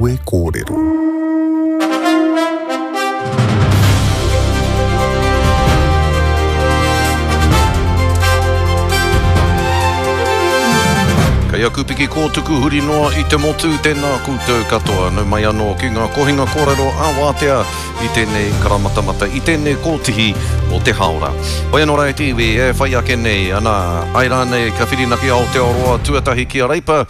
Kawe Kōrero. Kei aku piki kōtuku huri noa i te motu, tēnā koutou katoa. Nau mai anō ki ngā kohinga kōrero a Wātea i tēnei karamatamata, i tēnei kōtihi o te hāora. Hoi anō rā e te iwi, e whai ake nei, ana, ai rānei ka whirinaki Aotearoa tuatahi ki a Reipa,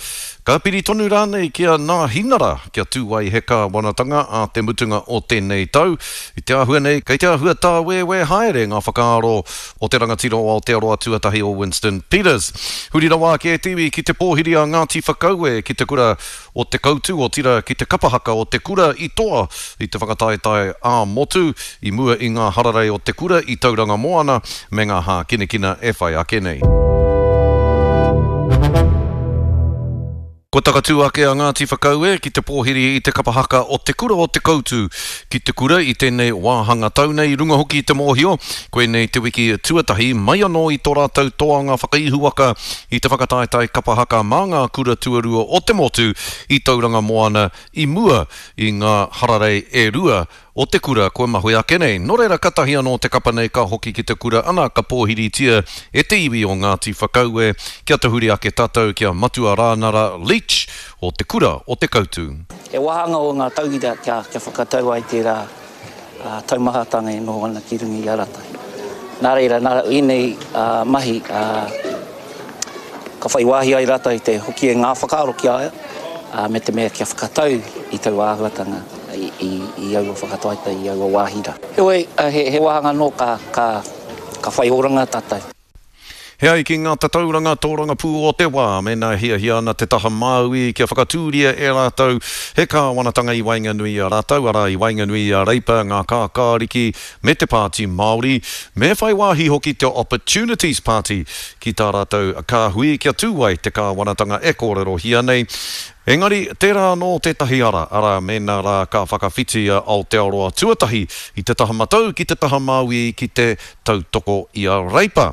Ka piri tonu rānei ki a Nāhinara kia tū ai he kāwanatanga ā te mutunga o tēnei tau? I te āhua nei, kei te āhua tāwēwē haere ngā whakaaro o te rangatira o Aotearoa tuatahi o Winston Peters. Huri rawa ake e te iwi ki te pōhiri a Ngāti Whakaue ki te kura o Te Koutu, otirā ki te kapa haka o te kura i toa i te whakataetae ā-motu i mua i ngā hararei o te kura i Tauranga Moana me ngā hākinakina e whai ake nei. Kua takatū ake a Ngāti Whakaue ki te pōhiri i te kapa haka o Te Kura o Te Koutu ki te kura i tēnei wāhanga tau nei, i runga hoki i te mōhio, koinei te wiki tuatahi mai anō i tō rātou toanga whakaihuwaka i te whakataetae kapa haka mā ngā kura tuarua o te motu i Tauranga Moana i mua i ngā hararei e rua o te kura kua mahue ake nei. Nō reira katahi anō te kapa nei ka hoki ki te kura ana ka pōhiritia e te iwi o Ngāti Whakaue kia tahuri ake tātou ki a Matua Rānara Leach o te kura o Te Kautu. He wāhanga o ngā tauira kia whakatau ai tērā taumahatanga e noho ana ki runga i a rātou. Nā reira, nā ēnei mahi ka whai wāhi ai rātou i te hoki e ngā whakaaro ki a ia, me te mea kia whakatau i taua āhuatanga i aua whakataetae, i aua wāhi rā. Heoi, he wāhanga anō ka whai oranga tātou. He ai ki ngā tatauranga tōrangapū o te wā, mēnā e hiahia ana te taha Māui kia whakatūria e rātou he kāwanatanga i waenganui i a rātou, arā, i waenganui i a Reipa, ngā Kākāriki me te Pāti Māori, me whai wāhi hoki te Opportunities Party ki tā rātou kāhui kia tū ai te kāwanatanga e kōrerohia nei. Engari, tērā anō tētahi ara, arā, mēnā rā ka whakawhiti a Aotearoa tuatahi i te taha matau ki te taha māui ki te tautoko i a Reipa.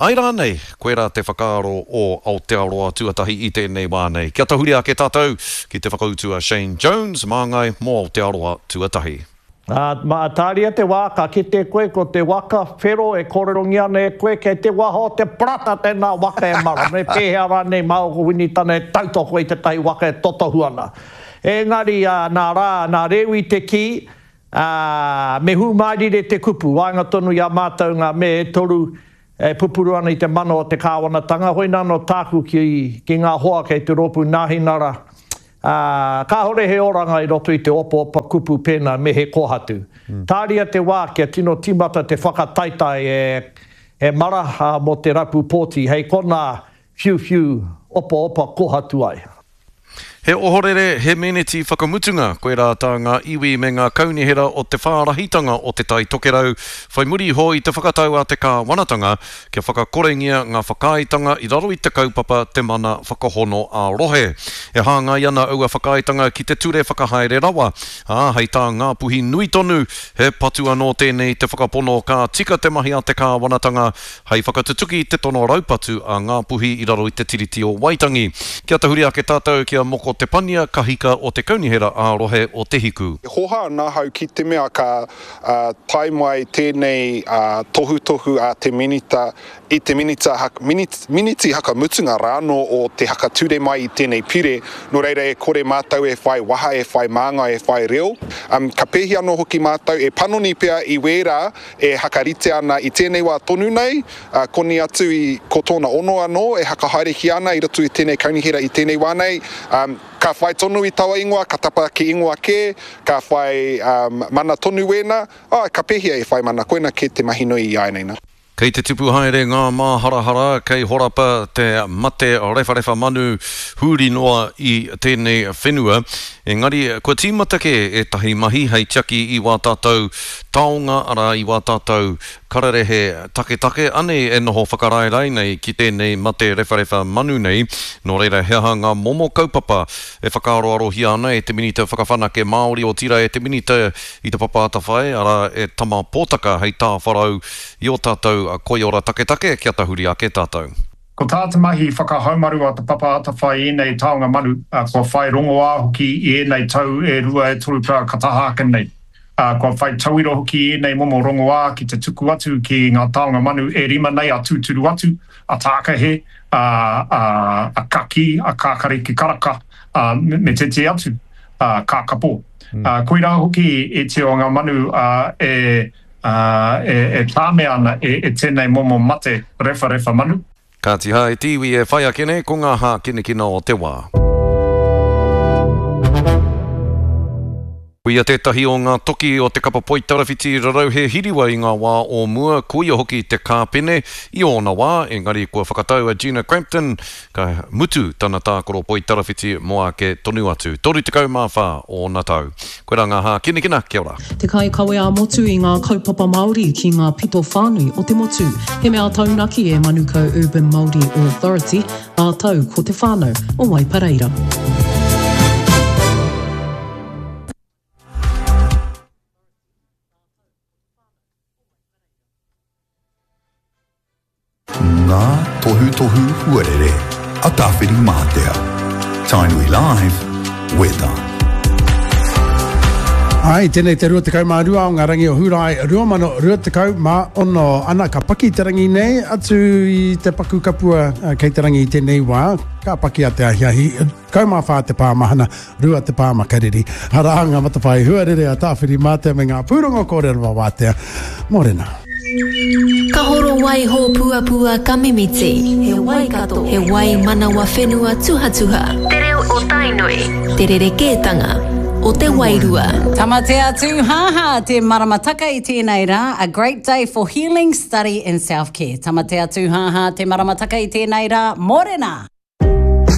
Āe rānei, koirā te whakaaro o Aotearoa tuatahi i tēnei wā nei. Kia tahuri ake tātou ki te whakautu a Shane Jones, māngai mō Aotearoa tuatahi. Ā, mā, tāria te wā, ka kite koe ko te waka whero e kōrerongia ana e koe, kei te waha o te parata tēnā waka e mara, me pēhea rānei mā ōku Winitana e tautoko i tētahi waka e totohu ana. Engari, ā, nā Rā, nā Rewi te kī, ā, me hūmārire te kupu, waenga tonu i a mātou ngā me e toru e pupuru ana i te mana o te kāwanatanga, hoina anō tāku ki, ki ngā hoa kei te rōpū Nāhinara, Ā, kāhore he oranga i roto i te opaopa kupu pēnā me he kōhatu. Tāria te wā kia tino tīmata te whakataetae e, e mara, ā, mō te rapu pōti, hei konā whiuwhiu opaopa kōhatu ai. He ohorere, he meneti whakamutunga, koirā tā ngā iwi me ngā kaunihera o te whārahitanga o Te Tai Tokerau whai muri iho i te whakatau a te kāwanatanga kia whakakorengia ngā whakaaetanga i raro i te kaupapa Te Mana Whakahono ā-Rohe. E hāngai ana aua whakaaetanga ki te Ture Whakahaere Rawa, ā, hei tā Ngāpuhi nui tonu, he patu anō tēnei te whakapono ka tika te mahi a te kāwanatanga hei whakatutuki i te tono raupatu a Ngāpuhi i raro i te Tiriti o Waitangi. Kia tahuri ake tātou ki a Moko Te Pania, kahika o te Kaunihera ā-Rohe o Te Hiku. E hoha ana ahau ki te mea ka tae mai tēnei tohutohu a te Minita i te minita, miniti hakamutunga rānō o te hakature mai i tēnei pire, nō reira e kore mātou e whai waha, e whai māngai, e whai reo. Ka pēhi anō hoki mātou e panoni pea i wērā e hakarite ana i tēnei wā tonu nei, koni atu i ko tōna ono anō e hakahaerehia ana i roto i tēnei kaunihera i tēnei wā nei. Ka whai tonu i taua ingoa, ka tapa ki ingoa kē, ka whai mana tonu wēnā, āe, ka pēhea e whai mana, koina kē te mahi nui i āianei nā. Kei te tipu haere ngā māharahara kei horapa te mate rewharewha manu huri noa i tēnei whenua. Engari, kua tīmata kē ētahi mahi hei tiaki i wā tātou taonga, arā, i wā tātou kararehe taketake, anei e noho whakaraerae nei ki tēnei mate rewharewha manu nei. Nō reira, he aha ngā momo kaupapa e whakaaroarohia ana e te Minita Whakawhanake Māori, otirā e te Minita i te Papa Atawhai, arā, e Tama Potaka hei tāwharau i ō tātou koiora taketake kia tahuri ake tātou? Ko tā te mahi whakahaumaru a Te Papa Atawhai i ēnei taonga manu, kua whai rongoā hoki i ēnei tau e rua e toru pea ka taha ake nei. Kua whai tauira hoki i ēnei momo rongoā ki te tuku atu ki ngā taonga manu e rima nei a Tūturu Atu, a Tākahe, a, a, a Kakī, a Kākariki Karaka, a, me tētehi atu, a, Kākapō. Koirā hoki ētehi o ngā manu e, ā, e, e tāmea ana e, e tēnei momo mate rewharewha manu. Kāti hā e te iwi e whai ake nei ko ngā hākinakina o te wā. Koia tētahi o ngā toki o te kapa poitarawhiti rarauhe hiriwa i ngā wā o mua, koia hoki te kāpene i ōna wā, engari kua whakatau a Gina Crampton Ka mutu tana tākaro poitarawhiti mō ake tonu atu. 34 ōna tau. Koirā ngā hākinakina, kia ora. Te kaikawe ā-motu i ngā kaupapa Māori ki ngā pito whānui o te motu. He mea taunaki e Manukau Urban Māori Authority, rātou ko te whānau o Waipareira. Ngā tohutohu huarere a Tāwhirimātea. Tainui Live, Weather. Ai, tēnei te 22 o ngā rangi o Hūrae 2026. Ana, ka paki te rangi nei, atu i te paku kapua kei te rangi i tēnei wā, ka paki a te ahiahi, 14 te pāmahana, 2 te pā makariri. Arā ngā matawhai huarere a Tāwhirimātea me ngā pūrongo kōrero a Wātea. Mōrena. Ka horo wai hōpuapua ka mimiti. He Waikato, he wai manawa whenua tuhatuha. Te reo o Tainui, te rerekētanga o te wairua. Tamatea tūhāhā te maramataka i tēnei rā, a great day for healing, study and self care. Tamatea tūhāhā te maramataka i tēnei rā, mōrena!